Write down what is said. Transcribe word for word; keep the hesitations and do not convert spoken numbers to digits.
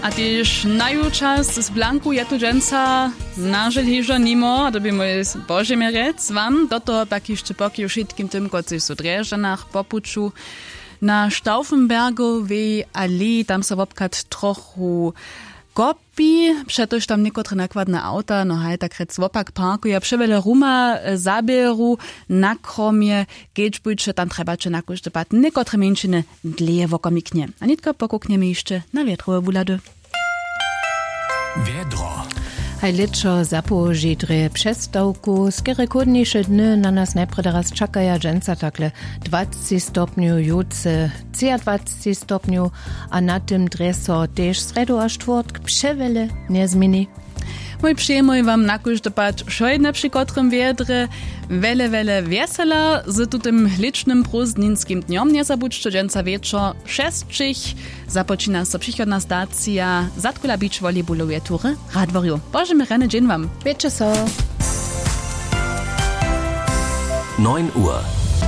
A tež naju čas z blanku je tu dźensa nažel hižo nimo a dyrbi mój božemjerec wam do toho pak hišće poki wšitkim tym kotřiž su w drježdźanach po puću na stauffenbergowej aleji tam so wobchad trochu kopi přetož tam někotre nakładne awta no haj tak rjec wopak parkuja přewjele ruma zaběru na kromje. Kedźbujće tam trjebaće na kóždy pad někotre mjeńšiny dlěje wokomiknje a nětko pokuknjemy hišće na wjetrowe wuhlady. Wjedro. Haj lěćo zapołoži drje přestawku skerje chłódniše dny na nas najprjedy raz čakaja dźensa takle dwacci stopnju jutře třiadwacci stopnju. A na tym drje so tež srjedu a štwórtk přewjele njezměni. Mój přijemoj wam na kóždy pad wšojedne při kotrym wjedrje wjele wjele wjesela z tutym lěčnym prózdninskim dnjom njezabudźće dźensa wječor šesćich. Započina so přichodna stacija zadkula bić volejbuloweje tury w radworju. Božemy rjany dźeń wam. Wětše so. Neun Uhr.